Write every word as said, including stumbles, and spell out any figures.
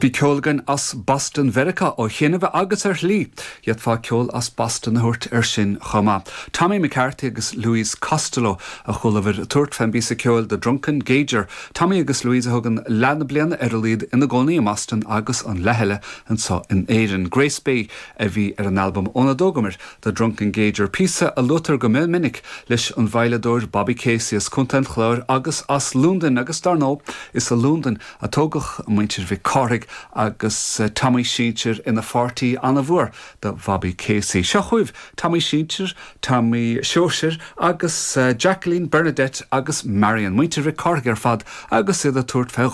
Bhí ceol againn as Boston Mheiriceá ó chianaibh agus ar shlí, d'fhéadfá ceol as Boston a thabhairt air sin chomh maith. Tommy McCarthy agus Louise Costello a chualamar ag tabhairt fén bpíosa ceoil The Drunken Gauger. Tommy agus Louise a thugann leath na bliana ar a laghad ina gcónaí i mBoston agus an leath eile anseo in Éirinn. Grace Bay a bhí ar an albam óna dtógamar The Drunken Gauger píosa a luaitear go minic leis an veidhleadóir Bobby Casey as Contae an Chláir agus as Londain agus dar ndóigh is i Londain a tógadh muintir Mhic Cárthaigh agus uh, Tommy Sinsir ina pháirtí an-mhór de Bhobby Casey. Seo chugaibh Tommy Sinsir, Tommy Seoisir agus uh, Jacqueline Bernadette agus Marion muintir Mhic Cárthaigh ar fad agus iad ag tabhairt fé